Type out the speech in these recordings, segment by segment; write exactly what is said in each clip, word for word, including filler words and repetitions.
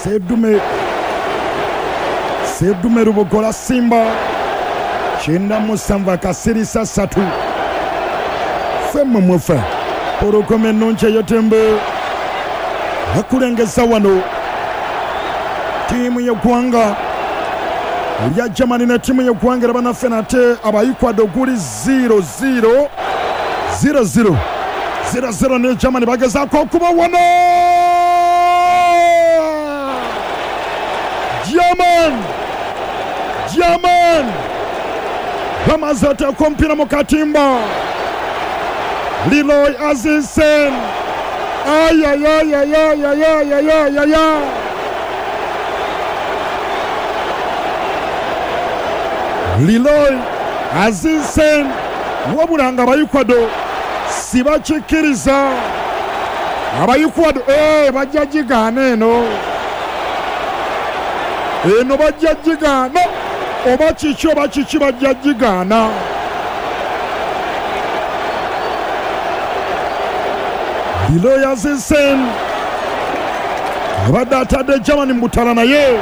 Sedume Sedume Rubogola Simba kyenda musanvu akasirisa ssatu femme mufe porokome ennungi eyetembe bakulengeza wano ttiimu y'eggwanga erya Germany ne ttiimu y'eggwanga era bannaffe nate aba Ecuador guli zero zero zero zero zero zero ne Germany bagezaako okuba wano German German bamaze oteeka omupiira mu katimba Leroy Azinsen ayayayayayayayayaya Leroy Azinsen wabula nga aba Ecuador sibakikkiriza aba Ecuador eh bajja gigaana eno eno bajja gigaana oba kiki oba kiki bajja gigaana Leroy Azinsen abadde atadde Germany mu butala naye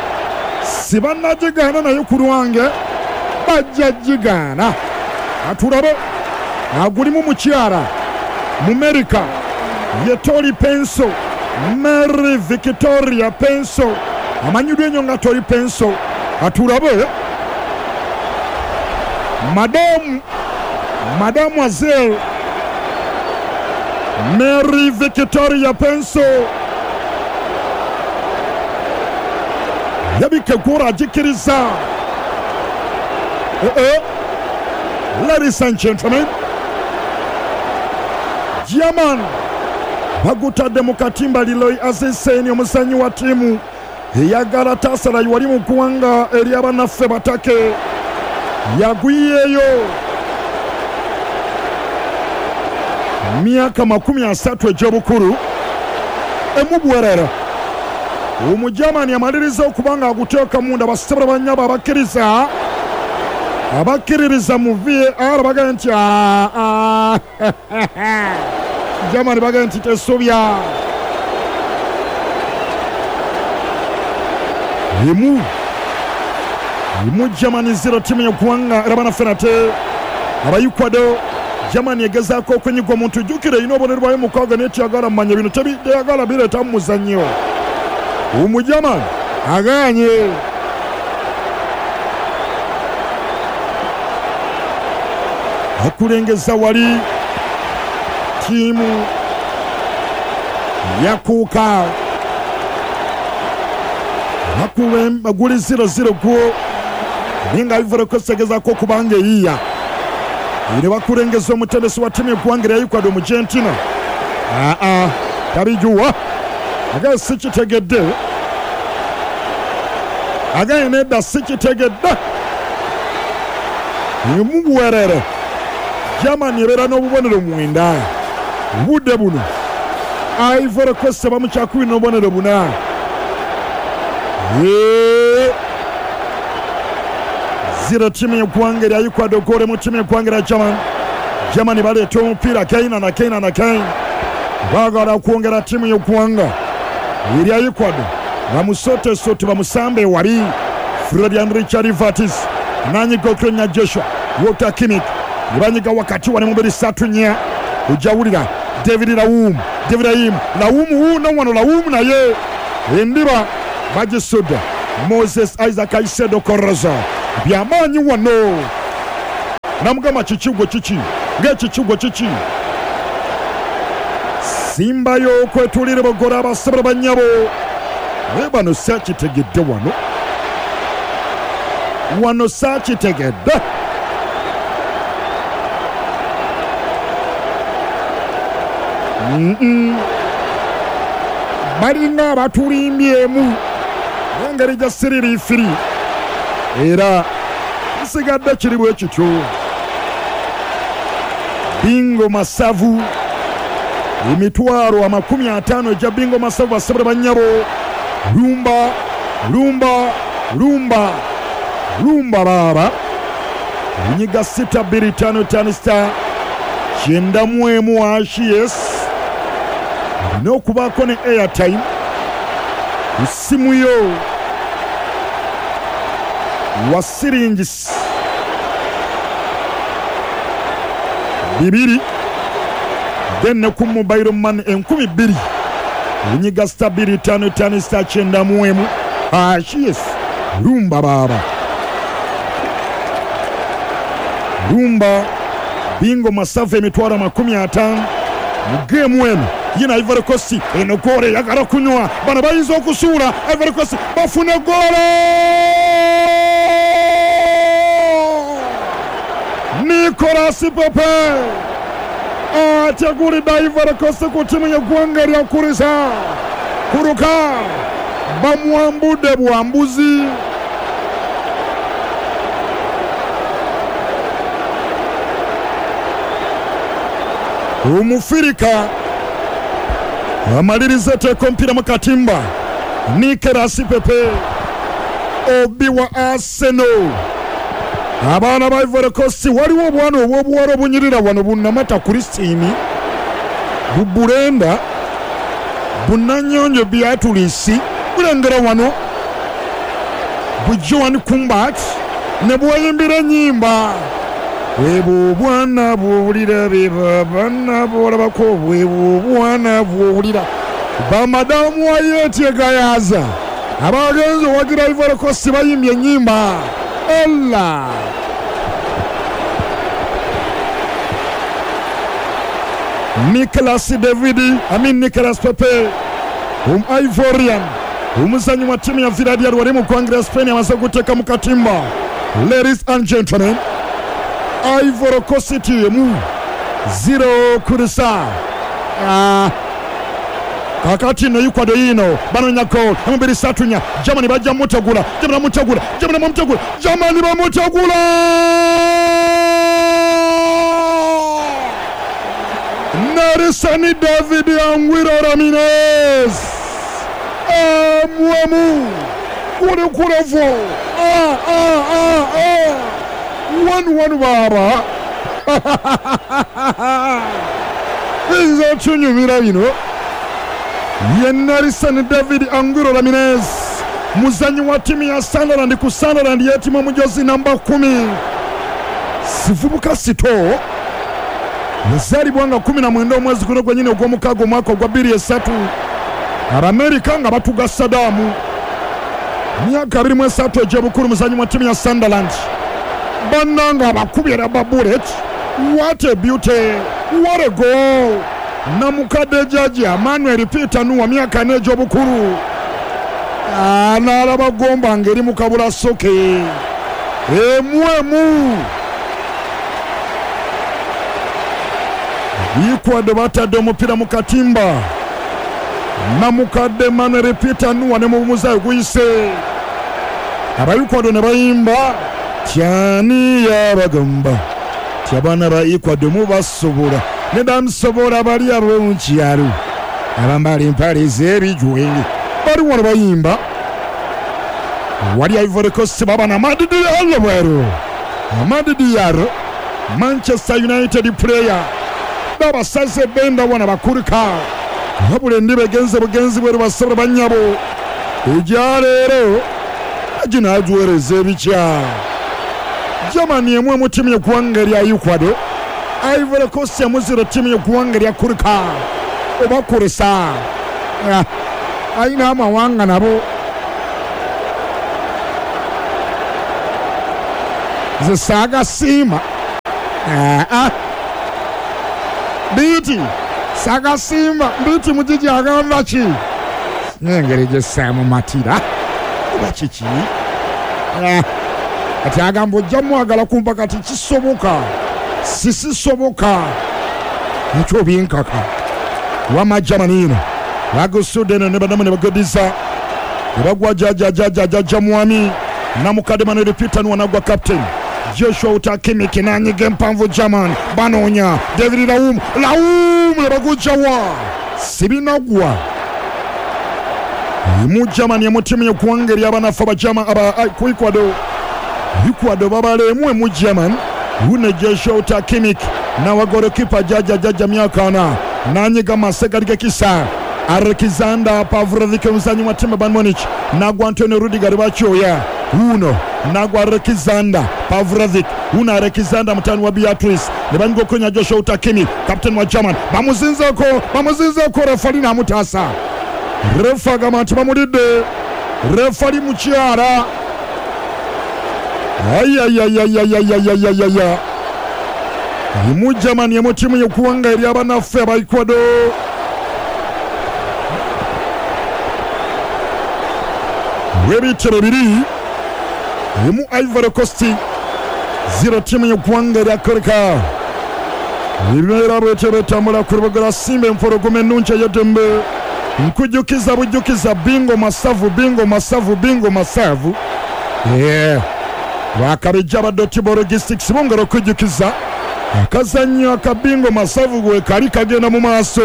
sibannagigaana naye ku lwange bajja gigaana atulabe agulimu mukyala mu America ye Tori Penso Mary Victoria Penso amanyiddwa ennyo nga Tori Penso atulabe Madame Mademoiselle Mary Victoria Penso yabikegura agikiriza eh eh ladies and gentlemen German bagutadde mu katimba Leroy Azinsen omuzannyi wa ttiimu eya Galatasaray wali mu ggwanga ery'abannaffe batake yagwiyeeyo myaka makumi asatu egy'obukulu emubwerera Omujamani amaliriza okuba nga aguteeka munda basebula bannyabo abakkiriza abakkiririza mu V A R bagamba nti Germany bagamba nti tesobya emu emu Germany zero ttiimu y'eggwanga era bannaffe nate aba Ecuador Germany egezaako okunyiga omuntu jjukira erina obubonero bwayo mukaaga naye teyagala mmanya bino teyagala bireeta mu muzannyo Omujamani agaanye akulengeza wali ttiimu yakuuka guli zero zero gwo naye nga Ivory Coast egezaako okuba nga eyiiya era bakulengeza omutendesi wa ttiimu y'eggwanga erya Ecuador mu Argentina aa tabijuwa agaye sikitegedde agaye nedda sikitegedde emubuwerere Germany ebeera n'obubonero mwenda obudde buno Ivory Coast bamukyakubiri n'obubonero buna zero ttiimu y'eggwanga erya Ecuador goal mu ttiimu y'eggwanga erya Germany Germany baleeta omupiira again and again and again baagala okwongera ttiimu y'eggwanga erya Ecuador bamusotesote bamusambe ewali Florian Richard Vatis nanyiga okutonya Joshua Walter Kimmich ne banyiga wakati wano mu bbiri ssatu nnya ojja David Raum David Raum Raum wuuno wano Raum naye endiba bagisudde Moses Isaac Aisedo Koroza byamaanyi wano namugamba kiki gwe kiki ng'ekiki kiki simbayo okwetulira bogola abasabula bannyabo naye bano saakitegedde wano wano saakitegedde Mm-mm. Balinga abatulimbyemu n'engeri gya siririifiri era nsigadde kiri bwe kityo bingo masavu emitwalo amakumi ataano egya bingo masavu basabula bannyabo lumba lumba lumba lumba baaba onyiga sita bbiri ttaano ttaano sita kyenda mu emu ashi yes olina okubaako ne airtime Ku yo wa siringisi bibiri then ne ku mobile money enkumi bbiri onyiga star bbiri ttaano ttaano star kyenda mu emu. Ah, yes, lumba baba lumba bingo masavu emitwalo makumi ataano mu geemu eno. Yina Ivory Coast eno goolo eyagala kunywa, bano bayinza okusuula Ivory Coast bafune goolo. Nicolas Pepe ategulidde Ivory Coast ku ttiimu y'eggwanga erya Kurisa Kuruka, bamwambudde bwambuzi. Omufirika amaliriza eteeka omupiira mu katimba. Nicolas Pepe obi wa Arsenal. Abaana ba Ivory Coast waliwo obwana obw'obuwala obunyirira wano bunnamata Christine bubulenda bunanyonjo Beatrice bulengera wano bu Joan Kumbat ne bweyimbira ennyimba bwebwo obwana bw'owulira be baana b'olabako bwebwo obwana bw'owulira. Bamadamu Wayeti Gayaza abagenzi owagira Ivory Coast bayimbye ennyimba Allah. Nicolas David, I mean Nicolas Pepe, um Ivorian, omuzanyi wa ttiimu ya Villarreal wali mu ggwanga lya Spain amaze guteeka mu katimba. Ladies and gentlemen, Ivory Coast emu zero kurisa. Ah. Kakati no Ecuador yino banonya goal amabiri satunya Germany bajja mutegula Germany mutegula Germany bamutegula Germany bamutegula Nelson David Anguiro Ramirez amwamu kule kulevo ah ah ah ah one one baba biza tunyumira bino. Ye Nelson David Anguiro Ramirez muzanyi wa timu ya Sunderland ku Sunderland yetima mujozi namba kumi sivubuka sito yazaalibwa nga kumi na mwenda omwezi guno gwennyini ogw'omukaaga omwaka ogwa bbiri esatu. Abamerika nga batuga Saddam myaka abiri mu esatu egy'obukulu muzanyi wa timu ya Sunderland bannanga abakubye rubber bullet. What a beauty, what a goal. Namukadde jjajja Manuel Peter Nuwa myaka ena egy'obukulu n'alaba gomba ng'eri mu kabula soke emu emu. Ecuador batadde omupiira mu katimba. Namukadde Manuel Peter Nuwa ne mubumuzaayo guyise. Aba Ecuador ne bayimba tyani yabagamba ti abaana ba Ecuador mubasobola ne bamusobola bali ab'omu kyalo abambala empale ez'ebijwenge bali wano bayimba. Wali Ivory Coast baba na Amad Diallo bweru Amad Diallo Manchester United player babasaze benda wana bakurika wabula endiba egenze bugenzi bweru basobola bannyabo ejaleero aginagiweereza ebikya. Germany emu mu ttiimu y'eggwanga erya Ecuador, Ivory Coast emu zero ttiimu y'eggwanga erya Kurika oba Kurisa. Alina amawanga nabo nze saagasiima biiti saagasiima biiti mugigi agamba ki n'engeri gye saamumatira oba kiki kati agamba ojja mwagala kumpa kati kisoboka sisisoboka ekyo binkaka wama Germany bagusudde eno ne badamu ne bagodiza ne bagwa jjajjajjajja mwami namukadde Manuel Peter Nuwa nagwa captain Joshua Utakimiki n'anyiga empanvu German banoonya David Laum Laum ne bagujjawa sibinagwa mu Germany mu ttiimu y'eggwanga ery'abanafu abajama aba ku Ecuador Ecuador babaleemu emu German wune Joshua Utakimiki nawa golikipa jjajjajjajja myaka ana n'anyiga masegali g'ekisa Alexander Pavlovic omuzanyi wa timu Bayern Munich nagwa Antonio Rudiger bakyoya uno nagwa Alexander Pavlovic una Alexander mutani wa Beatrice ne banyiga Joshua Utakimi captain wa German bamuzinzeko bamuzinzeko refali namutasa refa gamba nti bamulidde refali mukyala ayayayayayayayayaya mu Germany mu timu y'okuwanga eri abanaffe aba Ecuador webitero biri mu Ivory Coast zero timu y'okuwanga eri Afrika ebimera bwetyo betambula ku rubuga lwa Simba empologoma ennungi ey'eddembe nkujjukiza bujjukiza bingo masavu bingo masavu bingo masavu yeah. Bakabijja ba Dotibo Logistics bongera okujjukiza akazannyo akabingo masavu gwe kali kagenda mu maaso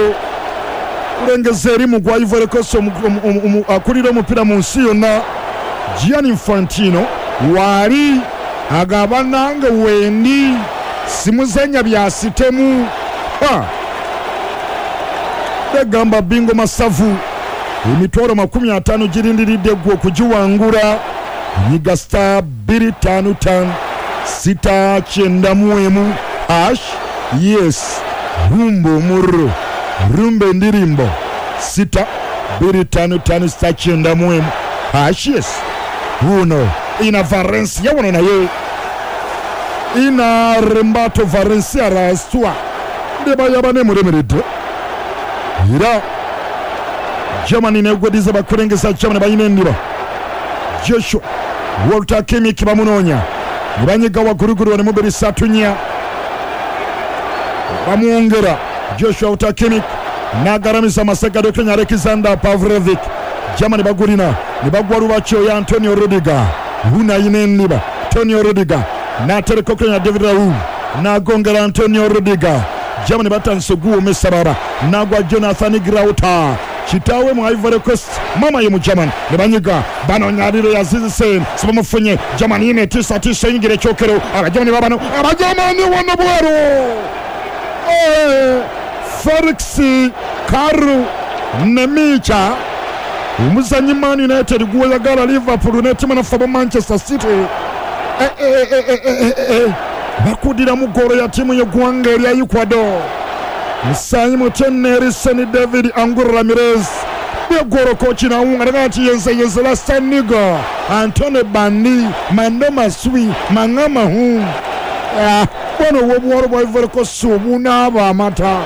kulengeza eri mu gwa Ivory Coast akulira omupiira mu nsi yonna Gianni Infantino wali agaba nange wendi simuzanya bya sitemu ha begamba bingo masavu emitwalo makumi ataano girindiridde gwe okugiwangula nyiga star bbiri ttaano ttaano sita kyenda mu emu hash yes rumbo omurro rumba endirimbo sita bbiri ttaano ttaano sita kyenda mu emu hash yes uno ina Valencia wano naye ina Rembato Valencia raswa ndeba yabane muremeredde era Germany negwediza bakulengeza Germany bayina endiba Joshua Walter Kimmich bamunoonya ne banyiga waggulugulu ne mubiri satunya bamwongera Joshua Walter Kimmich n'agaramiza amasega Dr. Alexander Pavlovic Germany bagulina ne bagwa lubakyo ya Antonio Rudiger huna ayina endiba Antonio Rudiger n'atereka okenya David Raul n'agongera Antonio Rudiger Germany batandise oguwoomesa baba n'agwa Jonathan Grauter kitaawe mu Ivory Coast mama ye mu Germany ne banyiga banonyaliro ya Zizisen sibamufunye Germany ine tisa tisa yingira ekyokero abagermany babano abagermany wano bweru eh, Felix Karu Nemicha omuzanyi Man United gweyagala Liverpool n'ettimu naffe aba Manchester City eh, eh, eh, eh, eh, eh. bakudira mu ggoolo ya ttiimu y'eggwanga erya Ecuador musanyi mutene Erison David Angulo Ramirez bweggoolo kochi nawunga naga nti yenze yenze Lastanigo Antone Bandi Mando Maswi Mangama hu bwano obwobuwalo bwa Ivory Coast obunaaba amata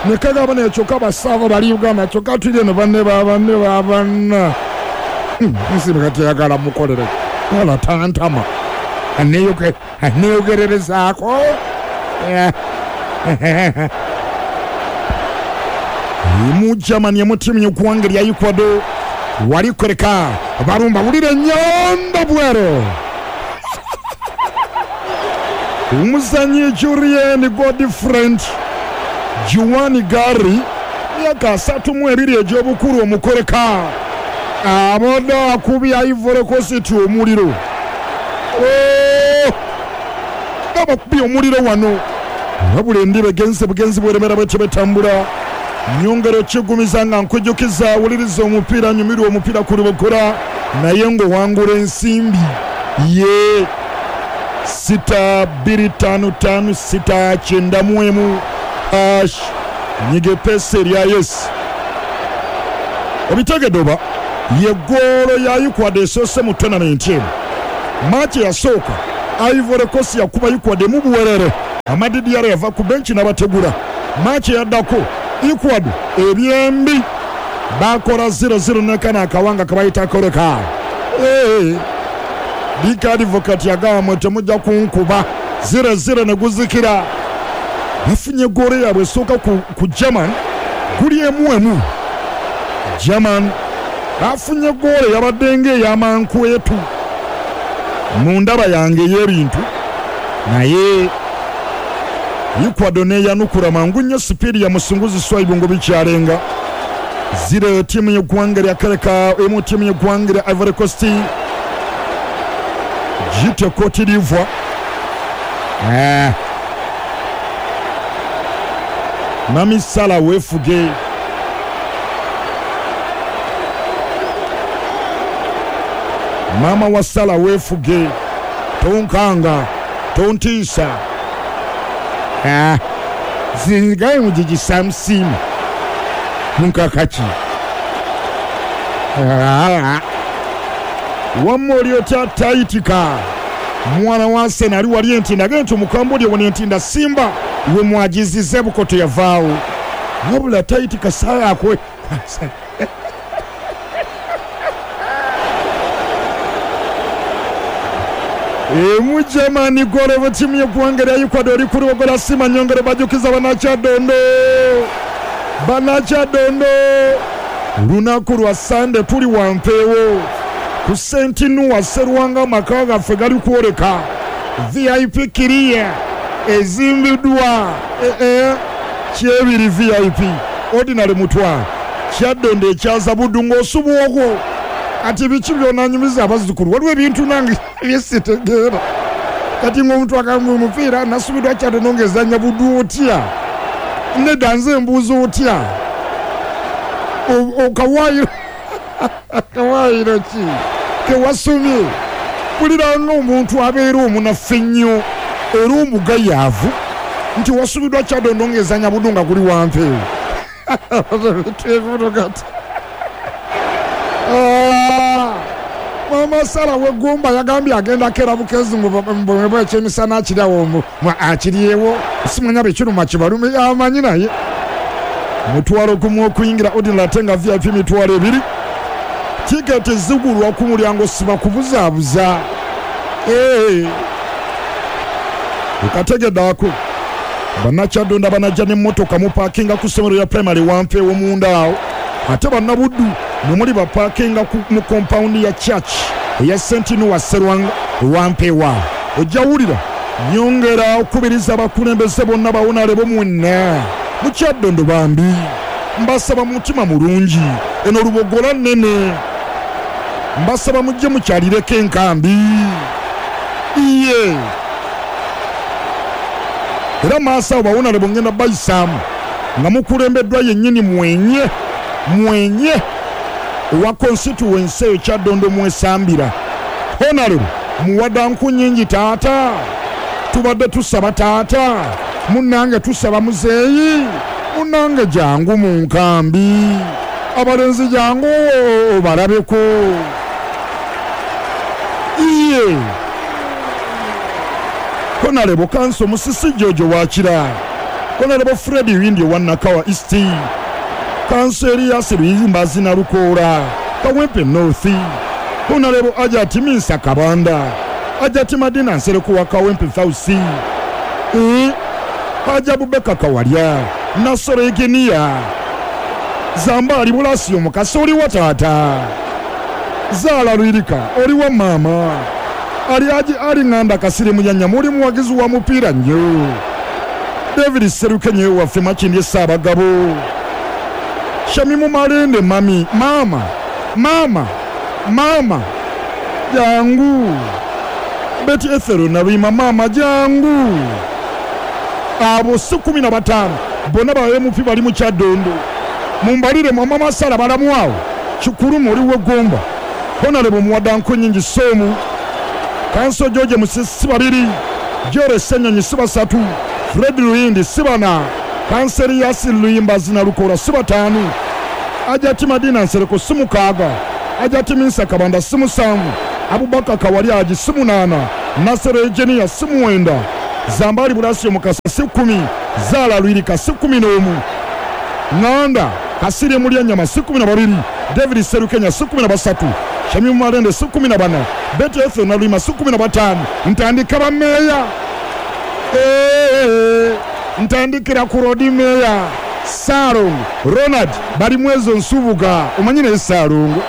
nekagaba naye kyokka basaava bali Uganda kyokka tuli eno banne babanne babanna nsibe kati ayagala mukolere wala tantama aneyogererezaako mu Germany mu ttiimu y'eggwanga erya Ecuador walikoreka barumba wulira ennyonda bwero omuzanyi Julien Godfriend Juan Gari myaka asatu mu ebiri egy'obukulu omukoreka abadde akubya Ivory Coast omuliro abakubye omuliro wano wabula endiba egenze bugenzi bweremera bwetyo betambula nyongero kigumiza nga nkujjukiza wuliriza omupiira nyumirwa omupiira ku lubokora naye ng'owangula ensimbi ye sita bbiri ttaano ttaano sita kyenda mu emu hash nyiga epesa erya yes obitegedde oba ye ggoolo ya Ecuador esoose mu tournament eno maaki yasooka Ivory Coast yakuba Ecuador mu buwerere Amadi Diarra yava ku benchi n'abategula maaki yaddako Ecuador ebyembi bakola zero zero nekana akawanga kabayita koleka Dika Advocate yagamba mwe temujja kunkuba zero zero ne guzikira bafunye ggoolo yaabwe esooka ku, ku German guli emu emu German bafunye ggoolo yabadde ng'ey'amankwetu mu ndaba yange ey'ebintu naye Ecuador neyanukula mangu nnyo sipiidi ya musunguzi Swaibu ngo bikyalenga zero ttiimu y'eggwanga lya Kereka emu ttiimu y'eggwanga lya Ivory Coast Gite Cote d'Ivoire eh. Mami Salah weefuge Maama wa Sala weefuge, tonkanga, tontiisa. Ah, zingaye mugigi Samusiima munkakaki. Ah, wamma oli otya tayitika mwana wa Sena ali wali Entinda agenda nti omukambwe oli wano Entinda Simba we mwagizize Bukoto yavaawo wabula tayitika saaya akwe Emujamani gole timu y'eggwanga lya Ecuador kuri gola Sima nyongere bajukiza bannakyadondo bannakyadondo lunaku lwa Sande tuli wampeewo ku Sentinua Serwanga amaka gaffe gali kwoleka V I P kiriya ezimbiddwa ee kyebiri V I P ordinary mutwa Kyaddondo ekyaza Buddu ng'osubwa okwo ati biki byonanyumiza abazzukulu waliwo ebintu nange byesitegeera kati ng'omuntu agamba omupiira nasubiddwa Kyaddondo ng'ezannya Buddu otya nedda nze mbuuza otya okawaayiro akawaayiro ki kewasomye mpulira ng'omuntu abeera omunafu ennyo era omugayaavu nti wasubiddwa Kyaddondo ng'ezannya Buddu nga guli wampeewo kati Mama Sara wegomba yagambye agenda kera bukezi ngo ekyemisana akiryawo akiryewo simanya bekiruma kibalume amanyi naye mutwalo gumu okuyingira ordinary ate nga V I P mitwalo ebiri tiketi zigulwa ku mulyango siba kubuzaabuza okategedde ako bannakyadondo banajja n'emmotoka mupaakinga ku ssomero lya primary wampeewo munda awo ate bannabuddu mwe muli bapaakinga mu kompawundi ya church eya Sentinua Serwanga wampewa ojja wulira nyongera okubiriza abakulembeze bonna bawonalebo mwenna mu Kyaddondo bambi mbasaba mutima mulungi eno Lubogola nnene mbasaba mujje mukyalireko enkambi iye era maaso awo bawonalebo ngenda bayisaamu nga mukulembeddwa yennyini mwenye mwenye owa constituency eyo Kyaddondo mwesambira Honorable muwadda nku nnyingi taata tubadde tusaba taata munnange tusaba muzeeyi munnange jangu mu nkambi abalenzi jangu obalabeko iye Honorable Kanso Musisi Jojo Wakira Honorable Fred Windi owa Nakawa East Kanso Elias Luyimbazi Nalukoola Kawempe North Honorable Ajati Minsa Kabanda Ajati Madina Nsereko wa Kawempe South e Haji Abubakar Kawalya Nasoro Egenia Zambali Bulasio Mukasa oli wa taata Zaala Lwirika oli wa maama Ali Haji Ali Nganda Kasire Muyanya muli muwagizi wa mupiira nnyo David Serukenye waffe Makindye Ssaabagabo Shamimu Malende mami mama mama mama jangu Betty Ethero Naluyima mama jangu abo si kumi na bataano bonna ba M P bali mu Kyaddondo mumbalire mama Masala balamu awo kikulu muli w'eggomba Honorable muwadda nku nnyingi Soomu Kanso George Musisi babiri Jore Ssenyonyi si basatu Fred Luyindi si bana Kanseri Yasir Luyimbazi Nalukoola si bataano Ajati Madina Nsereko si mukaaga Ajati Minsa Kabanda si musanvu Abubakar Kawalya si munaana Nasero Egenia si muwenda Zambali Bulasio Mukasa si kkumi Zaala Lwirika si kkumi n'omu Nganda Kasirye Mulyanyama si kkumi na babiri David Serukenya si kkumi na basatu Shamimu Malende si kkumi na bana Betty Ethel Naluyima si kkumi na bataano ntandika bammeeya ntandikira ku Lodi Meeya Ssaalongo Ronald Balimwezo Nsubuga omanyi naye Ssaalongo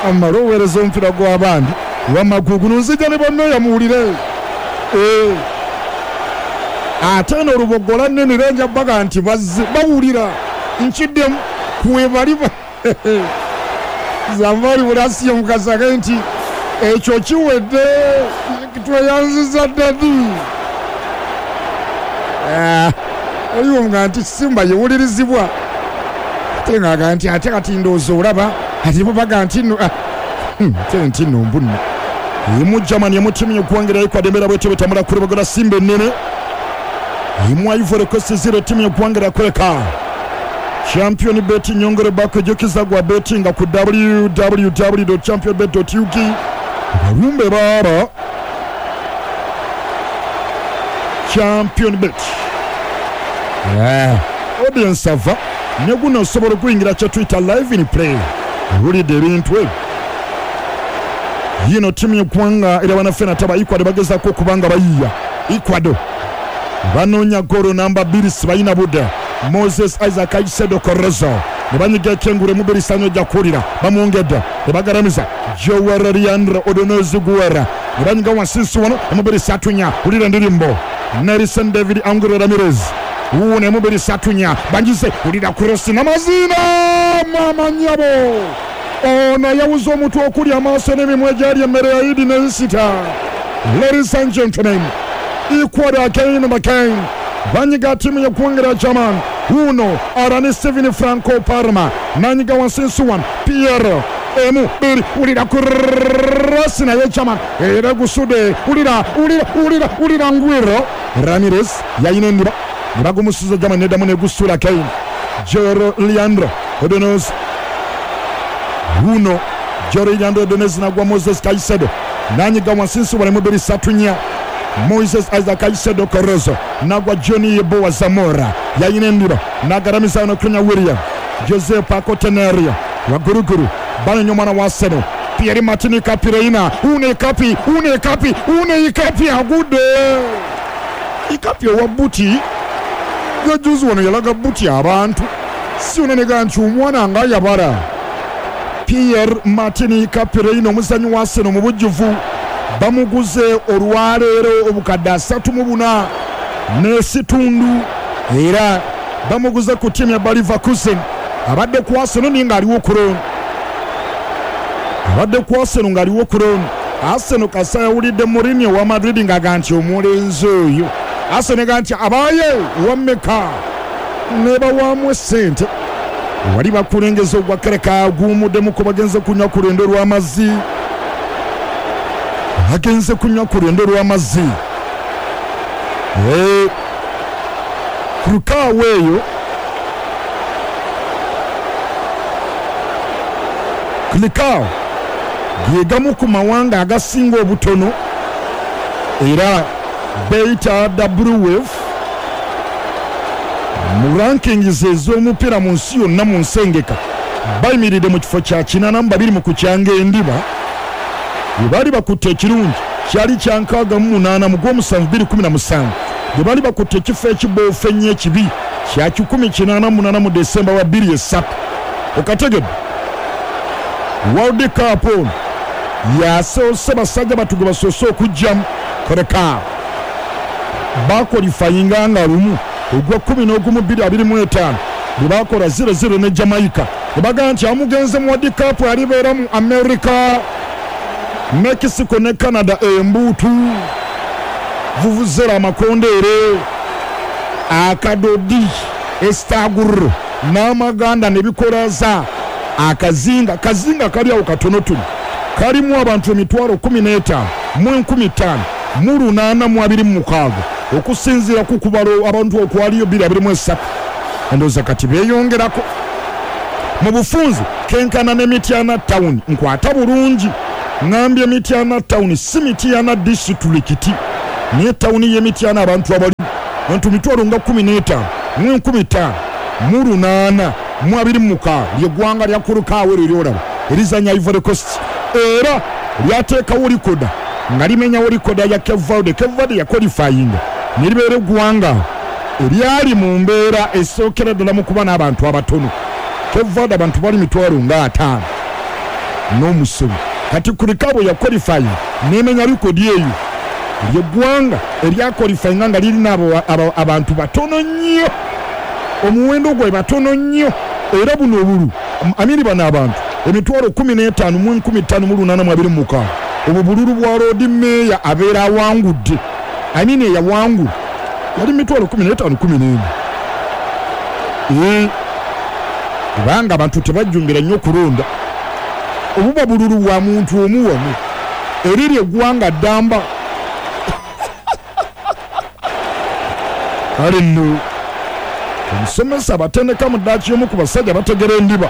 amala oweereza omupiira gw'abandi wamagugu nzija ne bammeeya muwulire ate eno Lubogola nnene era nja baga nti bazze bawulira nkiddemu kwebali Zambali Bulasio Mukasa nti ekyo kiwedde tweyanziza ddadi oliwo nga nti Simba yewulirizibwa ate ng'aga nti ate kati ndowooza olaba ati bo baga nti nno Tenti nno mbunno emu Germany emu ttiimu y'eggwanga erya Ecuador embeera bwetyo bwetambula ku lubaga lwa Simba ennene emu Ivory Coast zero ttiimu y'eggwanga erya Kureka. Champion Bet nyongere bako jjukiza gwa bettinga ku w w w dot champion bet dot u g balumbe baaba Champion Bet. Yeah. Audience ava ne guno osobola okuyingira kye tuyita live in play owulidde ebintu ebyo. Yino ttiimu y'eggwanga era bannaffe nataba Ecuador bagezaako okuba nga bayiiya. Ecuador banoonya ggoolo namba bbiri sibalina budde. Moses Isaac Caicedo Correzo ne banyiga ekyengulu emubiri sanyo ojja kuwulira bamwongedde ne bagalamiza Joel Leandro Odonozi Guerra ne banyiga wansinsi wano emubiri satunya wulira endirimbo Nelson David Angulo Ramirez wuuno emubiri satunya bangize wulira kurosi n'amazina mama nnyabo ono yawuza omutwe okuli amaaso n'emimwa egyali emmere ya Idi ne Isita. Ladies and gentlemen, Ecuador again and again banyiga ttiimu y'eggwanga lya German. Wuuno Arani Steven Franco Parma nanyiga wansinsi wano Pierre emu bbiri wulira kurosi naye German era gusudde wulira wulira wulira wulira Ngwiro Ramirez yayina endiba ne bagumusuza German neddamu negusuula Kane Joel Leandro Odonoz wuuno Joel Leandro Odonoz nagwa Moses Caicedo nanyiga wansinsi wano emu bbiri ssatu nnya Moses Isaac Caicedo Correzo nagwa Johnny Yeboah Zamora yayina endiba nagaramiza wano Kunya William Jose Paco Teneria waguruguru banyonya omwana wa Arsenal Pierre Martin Capireina une kapi une kapi une ikapi agudde ikapi owa buti yajuzi wano yalaga buti abantu si onenega nti omwana nga yabala. Pierre Martin Capireina omuzanyi wa Arsenal mu bujjuvu bamuguze olwaleero obukadde asatu mu buna n'esitundu era bamuguze ku ttiimu ya Bayer Leverkusen. Abadde ku Arsenal naye ng'aliwo ku loan, abadde ku Arsenal ng'aliwo ku loan. Arsenal kasa yawulidde Mourinho wa Madrid ng'aga nti omulenzi oyo Arsenal ga nti abaaye wammeka ne bawaamu essente wali bakulengeza ogwa Kereka guwummuddemu bagenze kunywa ku lwendo lw'amazzi agenze kunywa ku lwendo lw'amazzi ku lukaawo eyo Kulikaawo gegamu ku mawanga agasinga obutono era beyita W F mu rankings ez'omupiira mu nsi yonna mu nsengeka bayimiridde mu kifo kya kinaana mu babiri mu kukyanga endiba bwe baali bakutte ekirungi kyali kya nkaaga mu munaana mu gw'omusanvu bbiri kumi na musanvu bwe baali bakutte ekifo ekiboofu ennyo ekibi kya kikumi kinaana mu munaana mu Desemba wa bbiri esatu. Okategedde World Cup ono yasoose basajja batuge basoose okujjamu Koreka bakolifayinga nga lumu ogwa kkumi n'ogumu bbiri abiri mu etaano bwe baakola zero zero ne Jamaica ne bagamba nti amugenze mu World Cup alibeera mu America, Mexico ne Canada embuutu vuvuzera amakondeere akadodi estaguru n'amaganda ne bikolaza akazinga kazinga kali awo katonotono kalimu abantu emitwalo kkumi n'etaano mu enkumi ttaano mu lunaana mu abiri mu mukaaga okusinziira ku kubala abantu okwaliyo bbiri abiri mu esatu. Endowooza kati beeyongerako mu bufunzi kenkana ne Mityana Town nkwata bulungi ŋŋambye Mityana Town si Mityana disitulikiti naye tawuni y'e Mityana abantu abalimu abantu mitwalo nga kkumi n'etaano mu enkumi ttaano mu lunaana mu abiri mu mukaaga ly'eggwanga lya Kurukaawo eryo ly'olaba erizannya Ivory Coast era lyateekawo likoda nga limenyawo likoda ya Cape Verde. Cape Verde yakolifayinga ne libeera eggwanga eryali mu mbeera esookera ddala mu kuba n'abantu abatono. Cape Verde abantu bali mitwalo nga ataano n'omusobi. Kati Kurikabo yakolifayinga n'emenya likodi eyo ly'eggwanga eryakolifayinga nga lirina abantu batono nnyo omuwendo gwe batono nnyo era buno obulu amiri bano abantu emitwalo kkumi n'etaano mu enkumi ttaano mu lunaana mu abiri mu mukaaga obwo bululu bwa Lord Mayor abeera awangudde amini eyawangula yali mitwalo kkumi n'etaano kkumi n'emu ee kubanga abantu tebajjumbira nnyo okulonda. Obuba bululu bwa muntu omu wano. Eriri eggwanga ddamba. Kale nno omusomesa abatendeka mu ddaaki y'omu ku basajja bategera endiba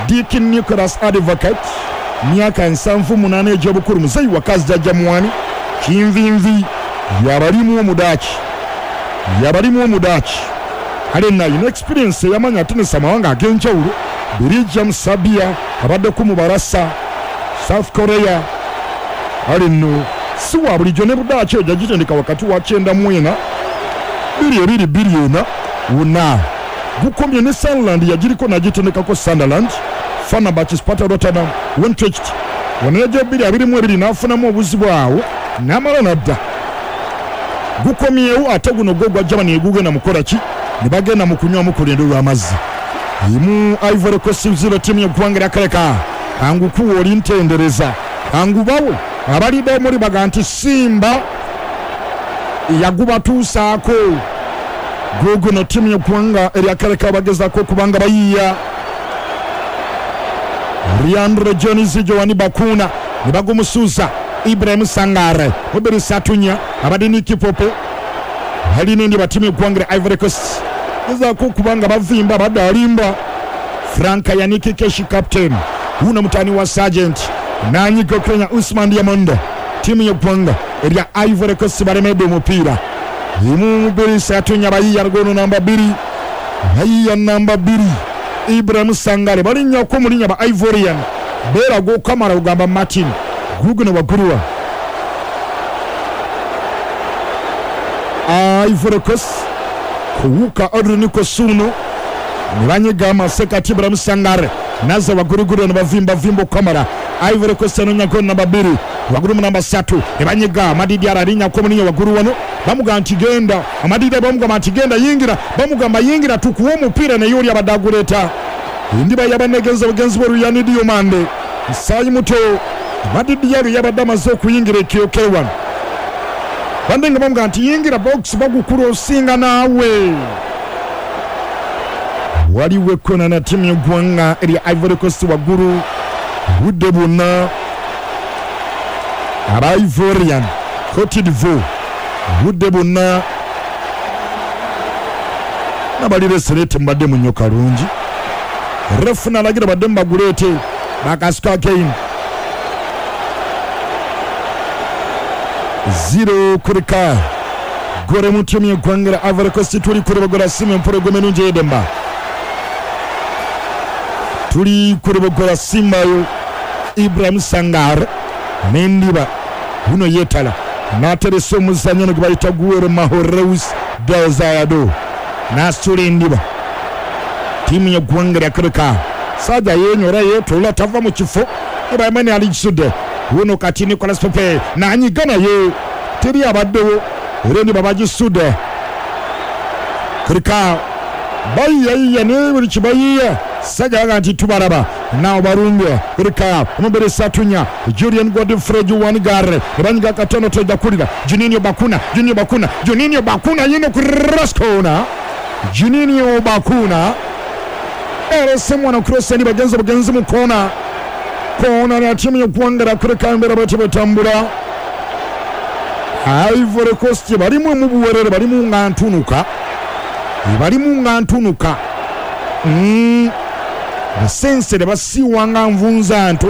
Deacon Nicholas Advocate, myaka nsanvu munaana egy'obukulu, muzeeyi wakazi jjajja mwani kinvinvi yabalimu omudaaki yabalimu omudaaki. Kale nno alina experience eyamanya atenesa amawanga ag'enjawulo, Belgium, Serbia, abaddeko mu Barasa, South Korea. Kale nno si wa bulijjo ne budaaki eyo yagitendeka wakati wa kyenda mu ena bbiri ebiri bbiri ena wonna gukomye ne Sunderland yagiriko n'agitendekako Sunderland, Fenerbahce, Sparta Rotterdam, Utrecht. Wano yajja bbiri abiri mu ebiri n'afunamu obuzibu awo n'amala n'adda. Gukomyewo ate guno gwo gwa Germany egugenda mukola ki? Ne bagenda mu kunywamu ku lwendo lw'amazzi. Imu Ivory Coast zero ttiimu y'eggwanga lya Kareka. Angukuwa oli ntendereza. Angubawe abalidde omuli baga nti Simba yagubatuusaako. Guguno ttiimu y'eggwanga erya Kareka bagezaako okubanga bayiiya. Leandro Jones Giovanni Bakuna ne bagumusuuza Ibrahim Sangare Oberi Satunya abadde ne Kipope alina endiba ttiimu y'eggwanga lya Ivory Coast gezaako okubanga bavimba badde alimba. Frank Yannick Keshi captain wuno mutani wa Sergeant nanyiga Kenya Usman Diamond. Ttiimu y'eggwanga erya Ivory Coast balemedde omupiira. Imu Oberi Satunya bayiiya lugono namba bbiri bayiiya namba bbiri Ibrahim Sangare balinnyako mu linnya ba Ivorian beeraga okamala kugamba Martin guguno wagguluwa Ivory Coast kuwuka Odrin Kosuno ne banyiga amasekati Ibrahim Sangare naza waggulugulu ne bavimbavimba okamala. Ivory Coast enonyako namba bbiri waggulu mu namba ssatu ne banyiga Amadidi alinnyako mu linnya waggulu wano bamugamba nti genda. Amadidi bamugamba nti genda yingira, bamugamba yingira tukuwe omupiira naye oli abadde aguleeta. Endiba yabanegeza bugenzi bw'Oluyani Diomande musaayi muto Amadidi yalo yabadde amaze okuyingira ekyoke wano bande nga bamugamba nti yingira box bagukula osinga naawe. Waliwo ekkona na ttiimu y'eggwanga erya Ivory Coast waggulu obudde bwonna aba Ivorian Cote d'Ivoire obudde bwonna n'abalireserete mubadde munnyo kalungi. Refu n'alagira badde mubaguleete bakasuka again zero kurika gore mu ttiimu y'eggwanga lya Ivory Coast. Tuli kuri Simba empologoma ennungi ey'eddemba tuli kuri Simba yo Ibrahim Sangare n'endiba buno yeetala n'ateresa omuzannyo ono gwe bayita Guero Mahoreus Delzayado n'asitula endiba. Ttiimu y'eggwanga lya Kareka sajja yeenyora yeetoola tava mu kifo Ibrahim alijisudde wuno kati Nicolas Pepe n'anyiga naye teri abaddewo era endiba bagisudde. Kareka bayiyayiya naye buli kibayiya sajja baga nti tubalaba naawo balumbye. Kareka omubiri Satunya Julian Godfrey Juan-Gare ne banyiga katono tojja kulira Juninho Bakuna Juninho Bakuna Juninho Bakuna yino cross corner Juninho Bakuna erese mwana cross ni bagenzi bagenzi mu kona kona ya ttiimu y'eggwanga lya Kareka embera bati batambula. Ivory Coast balimu mu buwerere balimu nga ntunuka balimu nga ntunuka mm. Basensere basiiwa nga nvunza nto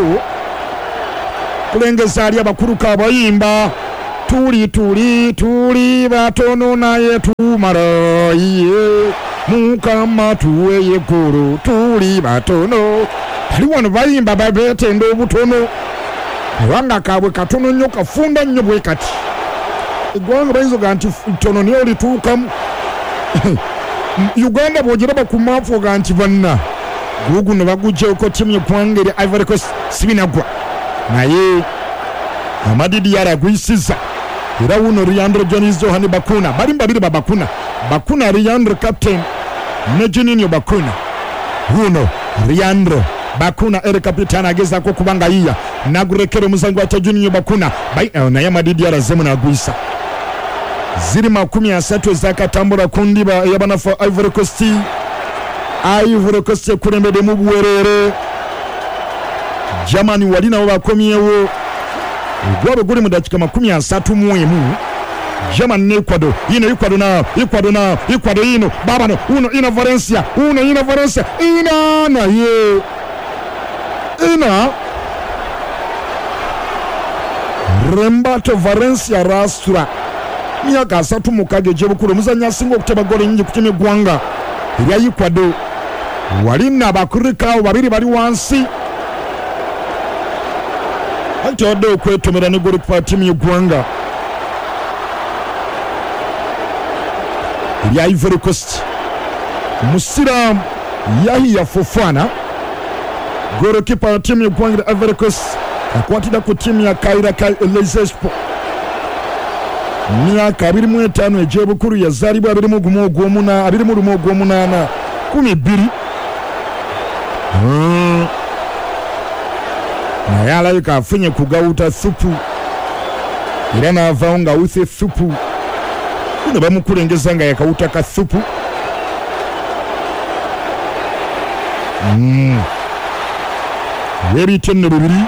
kulengeza ali abakulu kabayimba tuli tuli tuli batono naye tumala iye Mukama tuweye ggulu tuli batono. Bali wano bayimba babeetenda obutono kubanga kaabwe katono nnyo kafunda nnyo bwe kati. Eggwanga bayinza oga nti ttono naye olituukamu. Uganda bw'ogiraba ku maapu oga nti banna guguno baguggyeko ttiimu y'eggwanga erya Ivory Coast sibinaggwa naye Amadidi yaragwisiza era wuno Leandro Jones Johan Bakuna bali babiri ba Bakuna Bakuna Leandro captain ne Juninho Bakuna wuno Leandro Bakuna ere kapitana agezaako kubanga yiya nagurekera omuzanyi gwa Juninho Bakuna naye Amadidi yarazemu n'agwisa. Ziri makumi asatu ezakatambula ku ndiba ey'abanafu Ivory Coast. Ivory Coast ekulembedde mu buwerere Germany wali nabo bakomyewo ogwabwe guli mu dakiika makumi asatu mu emu. Germany ne Ecuador, ino Ecuador na Ecuador na Ecuador ino babano uno ina Valencia uno ina Valencia ina naye ina Rembato Valencia rastura myaka asatu mukaaga egy'obukulu omuzannyi asinga okuteba ggoolo nnyingi ku ttiimu y'eggwanga erya Ecuador. Walina abakurikaawo babiri bali wansi anti wadde okwetomera ne ggoolikipa wa ttiimu y'eggwanga erya Ivory Coast Musiraamu Yahya Fofana, ggoolikipa wa ttiimu y'eggwanga erya Ivory Coast akwatira ku ttiimu ya Kaira Elizespo. Myaka abiri mu etaano egy'obukulu, yazaalibwa abiri mu gumu ogw'omunaana abiri mu lumu ogw'omunaana kumi bbiri. Naye alabika afunye kugawuta supu era n'avaawo ng'awuse supu. Kuno bamukulengeza nga yakawuta ka supu. Weebiyita nno bibiri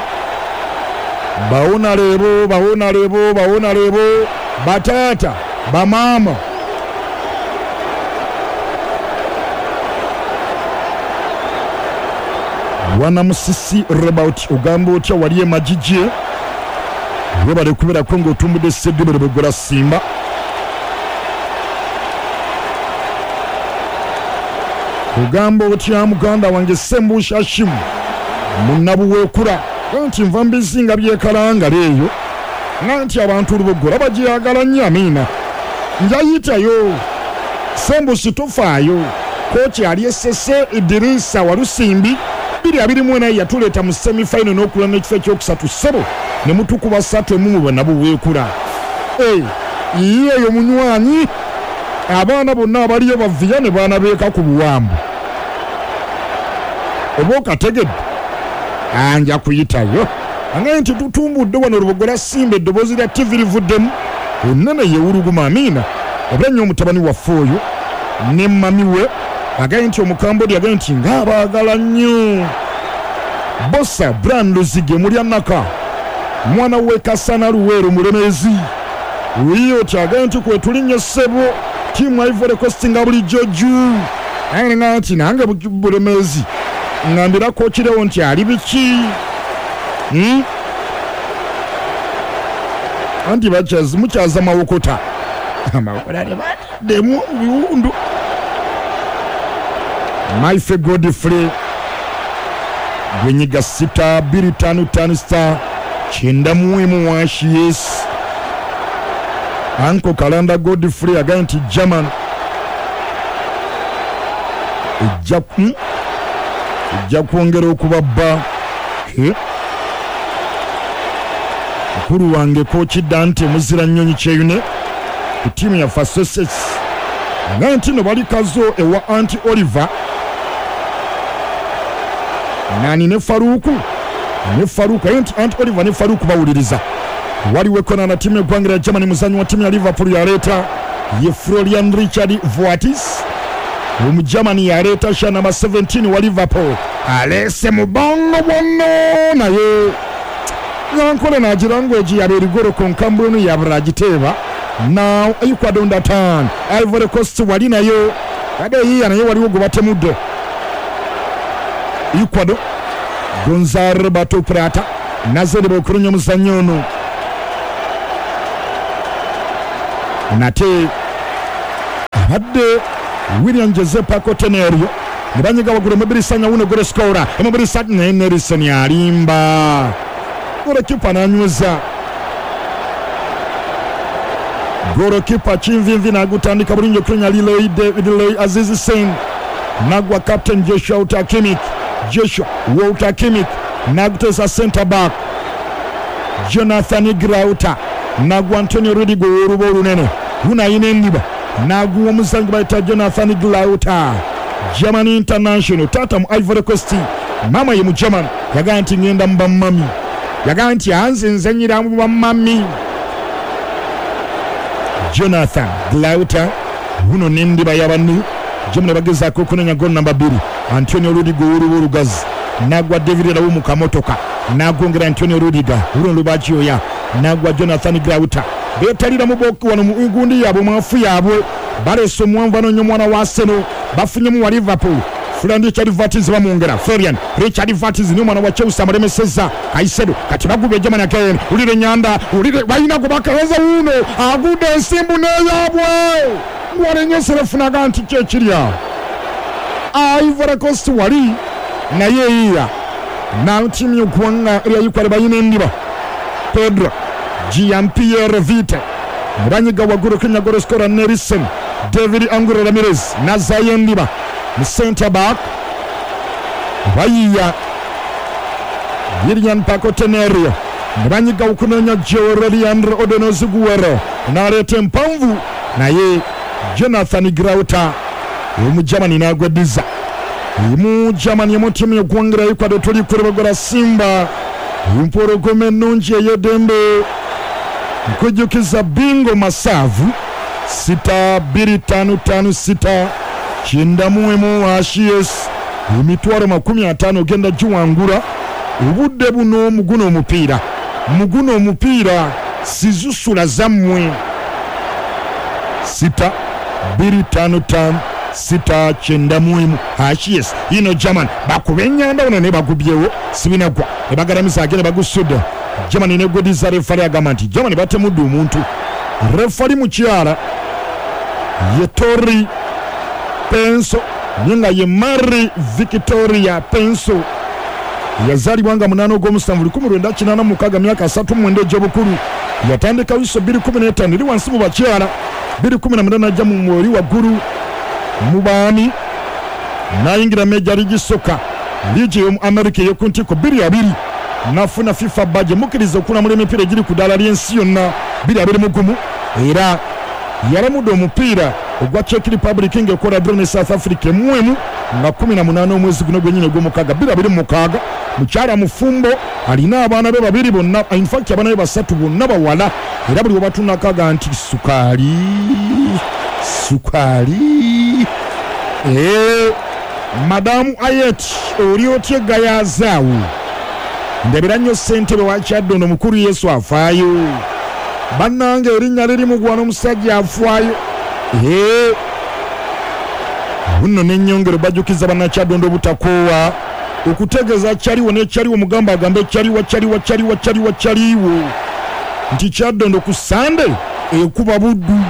bawonalebo bawonalebo bawonalebo bataata bamaama wana Musisi Rebaut ogamba otya wali emagigi webale kubeerako ng'otumbudde Ssedibere bwegola Simba. Ogamba otya muganda wange Sembusha Shimu munnabuweekula nti nva mbizinga byekalangala eyo nga nti abantu Lubogola bagyagala nnyo. Amiina njayitayo Sembusi tofaayo. Kooki ali Essese Idirisa Walusimbi bbiri abiri mu ena yatuleeta mu semifinal n'okulwana ekifo ekyokusatu ssebo ne mutukuba ssatu emu mu bannabuweekula. Ye eyo munywanyi abaana bonna abaliyo baviya ne baana beeka ku buwambu oba okategedde anja kuyitayo angaye nti tutumbudde wano Lubogola Simba eddoboozi lya T V livuddemu ennene yewuluguma. Amiina oba ennyo omutabani waffe oyo ne mami we agaye nti Omukambodi agaye nti ng'abaagala nnyo. Bosa Brian Luzige Mulyanaka mwana we Kasana Luweero Mulemezi wiyo kyagaye nti kwe tulinnye ssebo ttiimu Ivory Coast nga bulijjo juu naye nga nti nange Bulemezi ngambirako kirewo nti ali biki. Hmm? Anti bakyaza mukyaza mawokota amawokota demu biwundu. Maife Godfrey gwenyiga sita bbiri ttaano ttaano star kyenda mu emu washi yes. Anko Kalanda Godfrey agaye nti German ejja ejja kwongera okubabba. Mukulu wange Kooki Dante muzira nnyonyi Kyeyune ku ttiimu yaffe Associates nga nti no bali Kazo ewa Anti Oliver nani ne Faruku ne Faruku anti Anti Oliver ne Faruku bawuliriza. Waliwo ekona na ttiimu y'eggwanga lya Germany muzannyi wa ttiimu ya Liverpool yaleeta ye Florian Richard Voatis Omugermany yaleeta sha namba seventeen wa Liverpool aleese mubongo bwonno naye nyankole nagira ngu egi yabeera igoro konka mbwenu yabura agiteeba. Now Ecuador under turn Ivory Coast wali nayo ade yiya naye waliwo gwe batemudde. Ecuador Gonzalo Bato Prata nazere bokurunya omuzannyi ono nate abadde William Jose Paco Tenerio ne banyiga waggulu Mubirisanya wuno gole scorer Mubirisanya naye Nelson alimba golokipa n'anyweza golokipa Kinvinvi n'agutandika bulungi okutonya Leroy Leroy Aziz Sen nagwa captain Joshua Utakimik Joshua Walter Kimik n'aguteesa center back Jonathan Grauta nagwa Antonio Rudiger ow'oluba olunene guno ayina endiba n'aguwa omuzannyi bayita Jonathan Grauta Germany International taata mu Ivory Coast maama ye mu German yagamba nti ngenda mu bamami yagamba nti anze nzanyira mu bamami. Jonathan Grauta guno n'endiba y'abantu Germany bagezaako okunenya goal namba bbiri Antonio Rudiger ow'oluba olugazi nagwa David Raul mu kamotoka Nagongera Antonio Rudiger, Bruno Lubagioya, nagwa Jonathan Grauta. Betalira mu boku wano mu gundi yabwe mwafu yabwe. Baleese omuwanvu anoonya omwana wa Arsenal, bafunyemu wa Liverpool. Florian Richard Wirtz bamwongera. Florian Richard Wirtz ni omwana wa Chelsea amulemesezza Caicedo. Kati bagubye Germany again. Ulire Nyanda, ulire balina gwe bakaweza wuno agudde ensimbu n'eyaabwe. Walenyeserefunaga nti ki ekiri awo. Ivory Coast wali naye eyiya na ttiimu y'eggwanga erya Ecuador balina endiba. Pedro Jean-Pierre Vite banyiga waggulu Kenya goal Nelson David Angulo Ramirez nazayo endiba mu center back bayiya Lilian Paco Tenerio ne banyiga okunoonya Joe Leandro Odonozi Guerrero n'aleeta empanvu naye Jonathan Grauta Omujamani n'agweddiza. Omujamani mu ttiimu y'eggwanga erya Ecuador tuli kulebagula Simba empologoma ennungi ey'eddembe. Nkujjukiza bingo masavu sita bbiri ttaano ttaano sita kyenda mu emu ashies emitwalo makumi ataano ogenda giwangula obudde buno muguno omupiira muguno omupiira sizusula zammwe sita bbiri ttaano ttaano sita kyenda mu emu ashies ino German bakuba ennyanda ono ne bagubyewo sibinagwa ne bagalamiza agenda bagusudde Germany negwediza. Refali agamba nti Germany batemudde omuntu. Refali mukyala ye Tori Penso naye nga ye Mary Victoria Penso yazaalibwa nga munaana ogw'omusanvu lukumi lwenda kinaana mu mukaaga myaka asatu mu mwenda egy'obukulu. Yatandika wiso bbiri kumi n'etaano eri wansi mu bakyala, bbiri kumi na munaana ajja mu mweri waggulu mu baami n'ayingira Major League Soccer liigi ey'omu America ey'oku ntikko bbiri abiri nafuna FIFA badge mukkiriza okulamula emipiira egiri ku ddaala ly'ensi yonna bbiri abiri mu gumu. Era yalamudde omupiira ogwa Czech Republic ng'ekola draw ne South Africa emu emu nga kumi na munaana omwezi guno gwennyini ogw'omukaaga bbiri abiri mu mukaaga. Mukyala mufumbo alina abaana be babiri bonna, in fact abaana be basatu bonna bawala, era buli webatunakaga nti sukaali sukaali. Ee Madamu Ayet oli otya egayazaawo ndabira nnyo ssentebe wa Kyaddondo mukulu Yesu afaayo. Bannange erinnya liri mugwana omusajja afaayo. Ee buno n'ennyongero bajjukiza bannakyaddondo obutakoowa okutegeeza kyaliwo n'ekyaliwo mugamba agambe kyaliwa kyaliwa kyaliwa kyaliwa kyaliwo nti Kyaddondo ku Sande ekuba Buddu.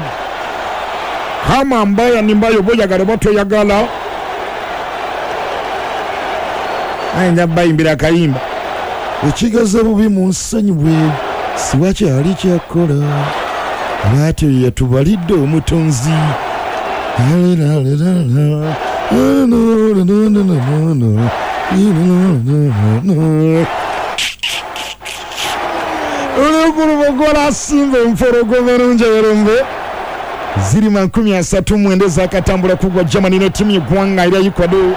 Kama mbaya ni mbaya oba oyagala oba toyagala ayinza bayimbira akayimba ekigaza bubi mu nsonyiwe siwakyali kyakola bwatyo yatubalidde omutonzi. Olukulubogola Simba empologoma ennungi ey'erembe ziri makumi asatu mu mwenda ezakatambula kugwa Germany ne ttiimu y'eggwanga erya Ecuador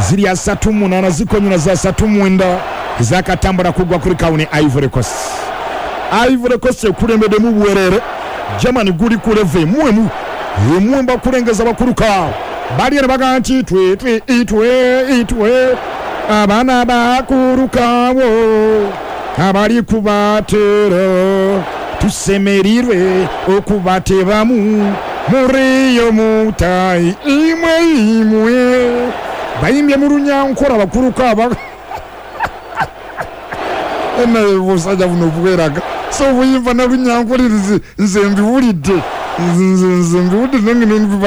ziri asatu mu munaana zikonyula za asatu mu mwenda ezakatambula kugwa kuri kawuni Ivory Coast. Ivory Coast ekulembeddemu bwerere Germany guli ku level emu emu emu mbakulengeza bakuluka bali eno bagamba nti twe twe itwe itwe abaana bakulukawo abali kubatera tusemerirwe okubatebamu muriyo mutayi imwe imwe bayimbye mu runyankora bakuluka aba naye obusajja buno bweraga so buyimba na runyankore nze mbiwulidde nze nze mbiwulidde nange